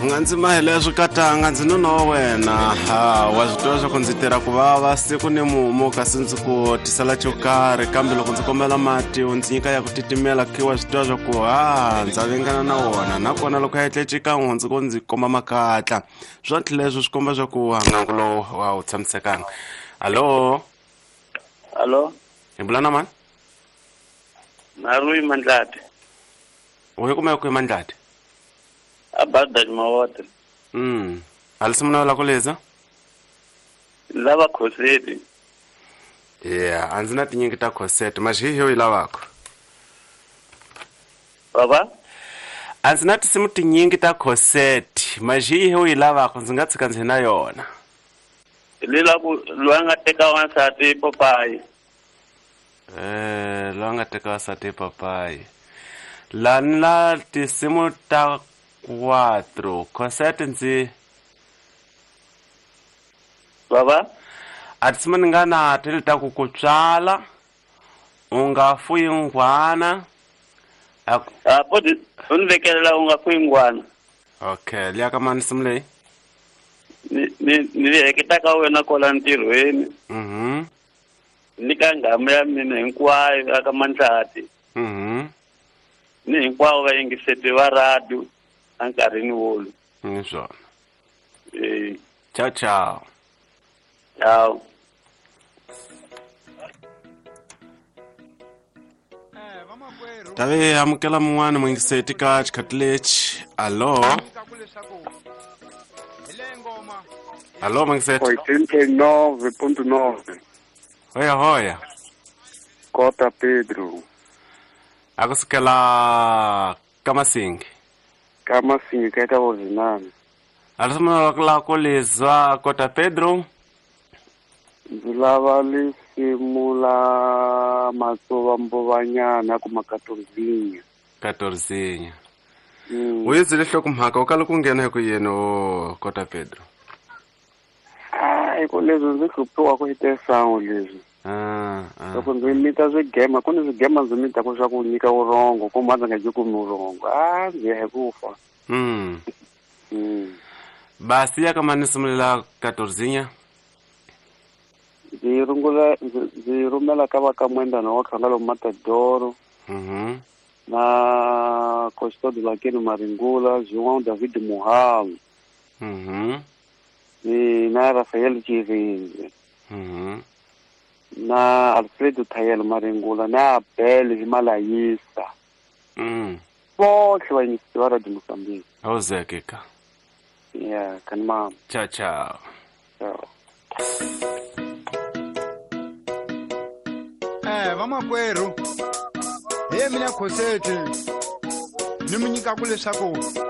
U nga ndzi mahele swikatanga ndzi nuna wa wena. Ha wa swi tiva swa ku ndzi tirha ku vava siku ni mumu kasi ndzi ku tisela xo karhi, kambe loko ndzi kombela mati u ndzi nyika ya ku titimela, khi wa swi tiva swa ku ha ndza vengana na wona. Nakona loko ya etle xikan'we ndzi ko ndzi komba makatla. Swontlhe leswi swi komba swa ku ngangu lowu wa wu tshamisekanga. Hallo? Hallo? Hi bula na mani? Narui Mandlati. U yi kumeka kwihi Mandlati? Abada Mawote. Halisi muna la ku leza? Lava khoseti. Yeah, a ndzi na tinyingi ta khosete, maxihi yi lavaka. Baba? A ndzi na tinsimu tinyingi ta khosete, maxihi yi lavaka, ndzi nga tshika ndzi na yona. Lela ku loyi a nga teka wansati papayi. Loyi a nga teka wansati papayi. La ni la tinsimu ta 4, khosete ndzi Baba? A tinsimu ni nga na ti ta ku ku tswala, u nga fuyi nghwana. A poti u ni vekelela u nga fuyi nghwana. Okay, liya ka mani nsimu leyi? Ni heketa ka wena kwala ntirhweni. Ni ka nghamu ya mina hinkwayo aka Mandlati. Ni hinkwavo vayingiseti va radio enkarhini wolowo. Ni swona. Ciao ciao. Ciao. Tave amukela mun'wana muyingiseti ka xikhathi lexi. Allo? Allo muyingiseti. 89.9. Hoya hoya. Kota Pedro. A ku sukela ka Masingi. Ka Masingi ka eka Vozinani. A la ku leza Kota Pedro. Ndzi lava lisimu la Matsuva Mbovanyana kuma Katorzinya. Katorzinya. U yi byele nhlokomhaka u kala ku nghena hi ku yini o Kota Pedro? Hi ku leswi ndzi hluphiwaka hi tesangu leswi. Loko ndzi mita swigema, ku ni swigema ndzi mitaka swa ku nyika vurhongo, kumbe a ndzi nga byi kumi vurhongo. Ndzi ya hi ku fa. Basi ya ka mani simulela Katorzinya? Ndzi rungula, ndzi rhumela ka va ka Mwendana wa Khangalo Matadoro. Na Costa de Lakeni Maringula, João David Muhalo. Ni na Rafael Chirinzi. Na Alfredo Thayel Maringula, na Abel Himalayisa. Botlhe ba yingiseti ba Radio Mozambique. Awuzeke ka. Yeah, kan mama. Ciao ciao. Ciao. Vamakwerhu, hi mina Khoseti, ni mi nyikaku leswaku